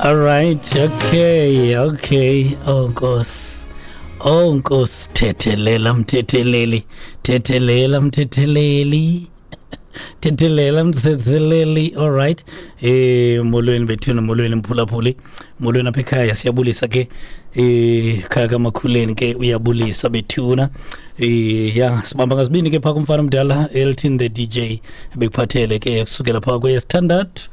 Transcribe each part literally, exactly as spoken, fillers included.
All right, okay, okay. Oh Nkosi. Oh Nkosi, thethelela mthetheleli, thethelela mthetheleli. Thethelela mthetheleli. All right. Eh molweni bethuna, molweni mphulaphuli. Molweni apha ekhaya, siyabulisa ke. Eh khaya kaMakhuleni ke uyabulisa bethuna. Eh ya sibamba ngazibini ke pha kumfana omdala Elton the D J bekuphathele ke kusukela pha kwesithandathu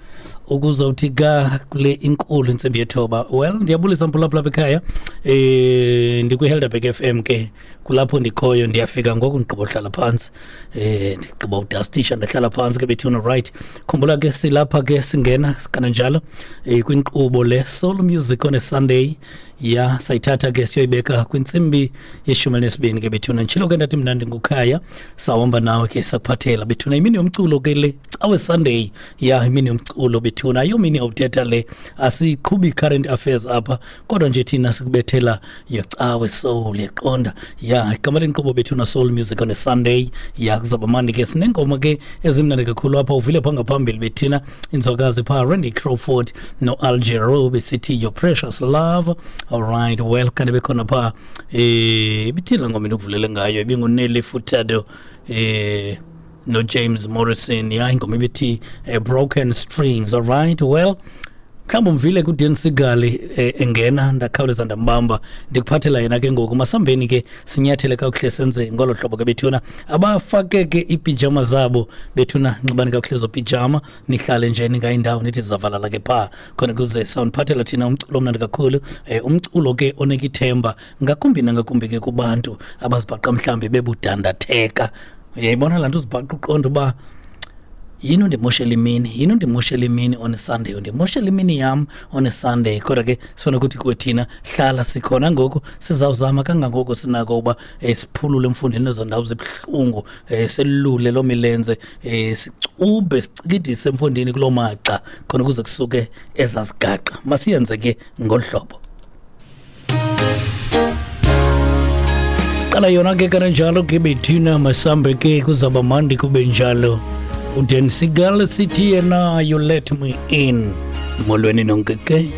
ukuzawuthi ga kule inkulu intsimbi yethoba. Well, ndiyabulisa mphulaphula apha ekhaya. Eh ndikwi-Helderberg F M ke kulapho ndikhoyo, ndiyafika ngoku ndigqiba uhlala phantsi. Eh ndigqiba udastisha ndahlala phantsi ke bethuna. Right, khumbula ke silapha ke singena kananjalo eh kwinkqubo le Soul Music on a Sunday. Ya sayithatha ke siyoyibeka kwintsimbi yeshumi elinesibini ke bethuna. Nditshilo ke ndathi mna ndingukhaya, sawuhamba nawe ke sakuphathela bethuna imini yomculo ke le cawe Sunday. Ya imini yomculo bethuna, ayomini yawuthetha le, asiqhubi current affairs apha kodwa nje thina sikubethela yecawe soul, yaqonda. Ya igama lenkqubo bethuna Soul Music on a Sunday. Ya kuzaba mandi ke, sinengoma ke ezimnandi kakhulu apha. Uvile pha ngaphambili bethina inzwakazi pha Randy Crawford no Al Jarreau besithi Your Precious Love. All right, well kanti bekhona pha eh ibithila ngoma endikuvulele ngayo ibinguNelly Furtado eh no James Morrison. Ya ingoma ibithi eh, Broken Strings. All right, well mhlawumbi umvile kuDan Segal eh, engena ndakhawuleza ndambamba ndikuphathela yena ke ngoku. Masambeni ke sinyathele kakuhle senze ngolo hlobo ke bethuna. Abafake ke iipijama zabo bethuna, nxibani kakuhle zo pijama, nihlale nje ningayindawo nithi zavalala ke pha khona kuze sawuniphathela thina umculo omnandi kakhulu, eh, umculo ke onika ithemba ngakumbi nangakumbi ke kubantu abazibhaqa mhlawumbi bebudandatheka. Uyayibona laa nto uzibhaqa uqonda uba yini undimoshela imini, yini undimoshela imini on a Sunday, undimoshela imini yam on a Sunday. Kodwa ke sifuna ukuthi kuwe thina hlala sikhona ngoku, sizawuzama kangangoko sinako uba eh, siphulule emfundini ezo ndawo zibuhlungu, eh, selule loo milenze, eh, sicube sicikidise emfundini kuloo maxa khona ukuze kusuke ezazigaqa. Masiyenze ke ngolu hlobo. Siqala yona ke kananjalo ke bethina, masambe ke kuzaba mandi kube njalo. uDan Segal sithi yena You Let Me In. Molweni nonke ke.